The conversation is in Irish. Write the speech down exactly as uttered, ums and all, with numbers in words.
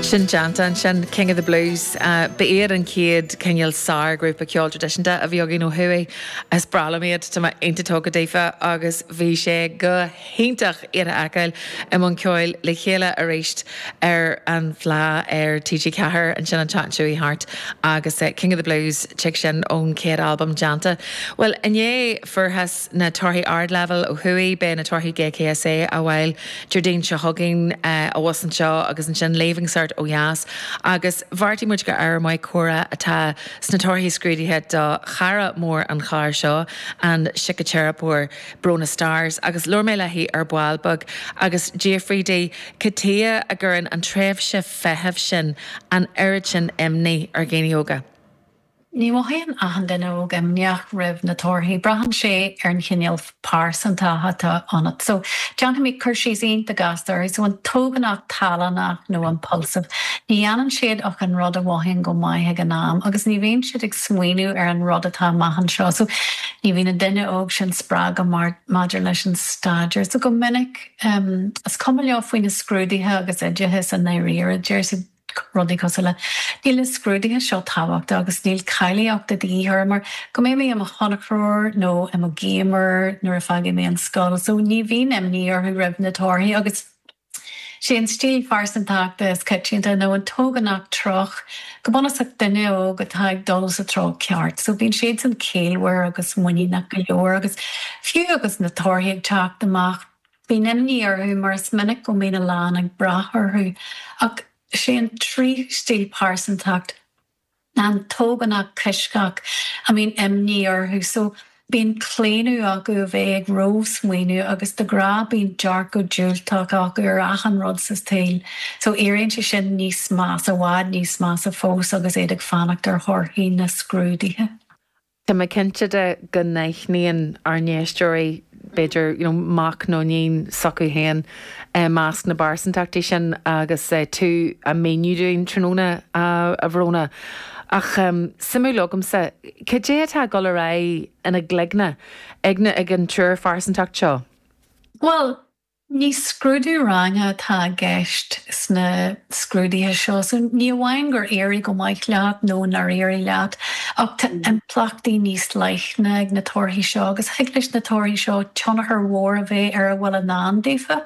Sin déanta ansin King of the Blues uh, ba iad an chéad cineál sárghrúpa ceol traidisiúnta a bhí againn ó thuaidh is breá liom iad tá mé iontach tógtha daofa agus bhí sé go hiontach iad a fheiceáil i mbun ceoil le chéile arís ar an Fleadh ar TG Ceathair ansin an tseachtain seo thart agus uh, King of the Blues tig sin ón chéad albam déanta. Well inné fuarthas na torthaí ardleibhéil ó thuaidh beidh na torthaí GCSE á bhfáil Déardaoin seo chugainn uh, abhus anseo agus ansin Leaving Cert ó dheas agus bheartaigh muid gur ábhar maith comhrá atá sna torthaí scrúdaithe do chara mór an chláir seo an síciteiripeoir Bróna Stars agus labhair mé léi ar ball beag agus d'fhiafraigh di cad chuige a gcuireann an tréimhse feithimh sin an oiread sin imní ar dhaoine óga. Ní mhothaíonn achan duine óg imníoch roimh na torthaí, braitheann sé ar an chineál pearsantacht atá ionat. So déanfaidh mé cur síos iontach gasta air, so an t-ógánach tallannach nó impulsive. Ní dhéanann siad ach an rud a mhothaíonn go maith ag an am, agus ní bhíonn siad ag smaoineamh ar an rud atá amach anseo. So ní bhíonn an duine óg sin spreagtha mar maidir leis an staidéar. So go minic um, is cuma leo faoi na scrúduithe agus oideachas i ndáiríre deir siad rudaí cosúil le níl na scrúduithe seo tábhachtach agus níl cáilíocht de dhíth mar go mbeidh mé i mo thonnchróir nó i mo gamer nuair a fágfaidh mé an scoil, so ní bhíonn imní orthu roimh na torthaí agus sé an stíl phearsantachta is coitianta nó an t-ógánach treoch go bunúsach duine óg atá ag dul sa treo ceart, so bíonn siad san ciallmhar agus muiníneach go leor agus fiú agus na torthaí ag teacht amach. Bíonn imní orthu mar is minic go mbíonn a lán ag brath orthu ach sé an tríú stíl pearsantacht an t-ógánach coisctheach a mbíonn imní orthu so bíonn claonadh acu a bheith ag rósmaoineamh agus de ghnáth bíonn dearcadh diúltach acu ar achan rud sa saol so éiríonn sé sin níos measa i bhfad níos measa fós agus iad ag fanacht ar thorthaí na scrúduithe. Tá mé cinnte de go n-aithníonn ár n-éisteoirí b'fhéidir you know, mac nó iníon s'acu féin eh, measc na bpearsantachtaí sin agus eh, tú á míniú dúinn tráthnóna a Bhróna. Ach um, suimiúil agamsa, cad é atá ag dul ar aghaidh ina gcloigne ag na ag an triúr phearsantacht seo? Well, ní scrúdú ranga atá i gceist sna scrúduithe seo, so ní amháin gur éirigh go maith leat nó nár éirigh leat, ach tá impleachtaí níos leithne ag na torthaí seo agus thig leis na torthaí seo tionchar mhór a bheith ar a bhfuil i ndán daofa.